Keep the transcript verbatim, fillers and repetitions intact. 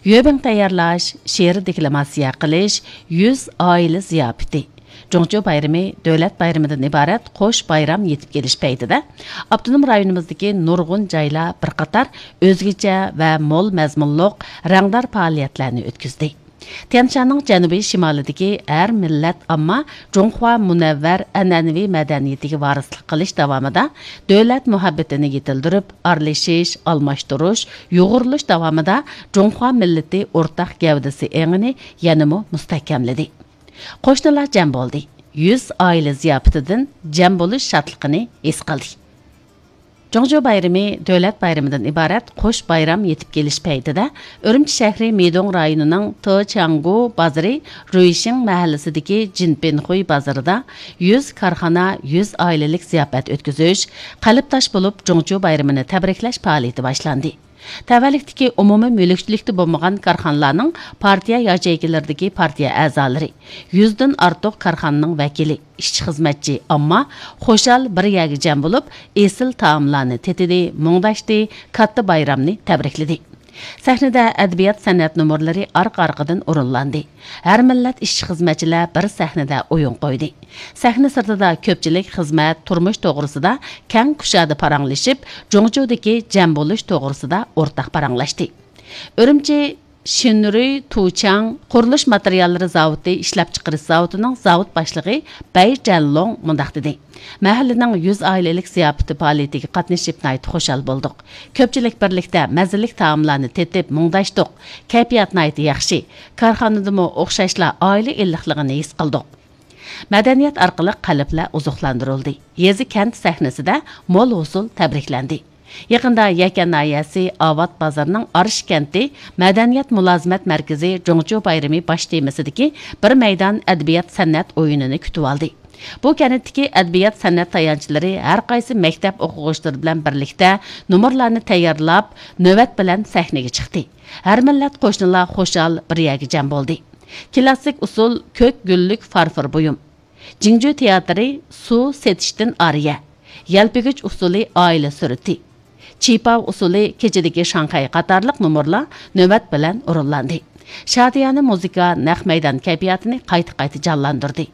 يۆبىڭ تەييارلاش، شېئىر دېكلاماتسىيە قىلىش، يۈز ئائىلە زىياپىتى. جۇڭچيۇ بايرىمى دۆلەت بايرىمىدىن ئىبارەت قوش بايرام يېتىپ كېلىش پەيتىدە، ئاپتونوم رايونىمىزدىكى نۇرغۇن جايلار بىر قاتار ئۆزگىچە ۋە مول مەزمۇنلۇق رەڭدار پائالىيەتلەرنى ئۆتكۈزدى. تيەنشاننىڭ جەنۇبىي شىمالىدىكى ھەر مىللەت ئامما جۇڭخۇا مۇنەۋۋەر ئەنئەنىۋى مەدەنىيىتىگە ۋارىسلىق قىلىش داۋامىدا دۆلەت مۇھەببىتىنى يېتىلدۈرۈپ، ئارىلىشىش، ئالماشتۇرۇش، يۇغۇرۇلۇش داۋامىدا جۇڭخۇا مىللىتى ئورتاق گەۋدىسى ئېڭىنى يەنىمۇ مۇستەھكەملىدى. قوشنىلار جەم بولدى. يۈز ئائىلە زىياپىتىدىن جەم بولۇش شادلىقىنى ھېس قىلدى. جۇڭچيۇ بايرىمى دۆلەت بايرىمىدىن ئىبارەت قوش بايرام يېتىپ كېلىش پەيتىدە، ئۈرۈمچى شەھىرى مىدوڭ رايونىنىڭ تېچياڭگۇ بازىرى، رۇيشىڭ مەھەللىسىدىكى جىنپىنخۇي بازىرىدا يۈز كارخانا، يۈز ئائىلىلىك زىياپەت ئۆتكۈزۈش، قەلبداش بولۇپ جۇڭچيۇ بايرىمىنى تەبرىكلەش پائالىيىتى باشلاندى. تەۋەلىكتىكى ئومۇمىي مۈلۈكچىلىكتە بولمىغان كارخانىلارنىڭ پارتىيە ياچېيكىلىرىدىكى پارتىيە ئەزالىرى، يۈزدىن ئارتۇق كارخانىنىڭ ۋەكىلى، ئىشچى-خىزمەتچى، ئامما خۇشال بىر يەرگە جەم بولۇپ، ئېسىل تائاملارنى تېتىدى، مۇڭداشتى، كاتتا بايرامنى تەبرىكلىدى. سەھنىدە ئەدەبىيات-سەنئەت نومۇرلىرى ئارقا-ئارقىدىن ئورۇنلاندى. ھەر مىللەت ئىشچى-خىزمەتچىلەر بىر سەھنىدە ئويۇن قويدى. سەھنە سىرتىدا كۆپچىلىك خىزمەت، تۇرمۇش توغرىسىدا كەڭ كۇشادە پاراڭلىشىپ، جۇڭچيۇدىكى جەم بولۇش توغرىسىدا ئورتاق پاراڭلاشتى. ئۈرۈمچى شىنرۇي تۇچياڭ قۇرۇلۇش ماتېرىياللىرى زاۋۇتى ئىشلەپچىقىرىش زاۋۇتىنىڭ زاۋۇت باشلىقى بەي جەنلوڭ مۇنداق دېدى: مەھەللىنىڭ يۈز ئائىلىلىك زىياپىتى پائالىيىتىگە قاتنىشىپ ناھايىتى خۇشال بولدۇق. كۆپچىلىك بىرلىكتە مەززىلىك تائاملارنى تېتىپ مۇڭداشتۇق. كەيپىيات ناھايىتى ياخشى. كارخانىدىمۇ ئوخشاشلا ئائىلە ئىللىقلىقىنى ھېس قىلدۇق. مەدەنىيەت ئارقىلىق قەلبلەر ئوزۇقلاندۇرۇلدى. يېزا، كەنت سەھنىسىدە مول ھوسۇل تەبرىكلەندى. يېقىندا يەكەن ناھىيەسى ئاۋات بازىرىنىڭ ئارىش كەنتى مەدەنىيەت مۇلازىمەت مەركىزى جۇڭچيۇ بايرىمى باش تېمىسىدىكى بىر مەيدان ئەدەبىيات-سەنئەت ئويۇنىنى كۈتۈۋالدى. بۇ كەنتتىكى ئەدەبىيات-سەنئەت تايانچلىرى ھەر قايسى مەكتەپ ئوقۇغۇچىلىرى بىلەن بىرلىكتە نومۇرلارنى تەييارلاپ، نۆۋەت بىلەن سەھنىگە چىقتى. ھەر مىللەت قوشنىلار خۇشال بىر يەرگە جەم بولدى. كلاسسىك ئۇسۇل كۆك گۈللۈك فارفور بۇيۇم، جىڭجۈ تىياتىرى سۇ سېتىشتىن ئارىيە، يەلپۈگۈچ ئۇسسۇلى ئائىلە سۈرىتى، چىپاۋ ئۇسسۇلى كېچىدىكى شاڭخەي قاتارلىق نومۇرلار نۆۋەت بىلەن ئورۇنلاندى. شادىيانە مۇزىكا نەق مەيدان كەيپىياتىنى قايتا-قايتا جانلاندۇردى.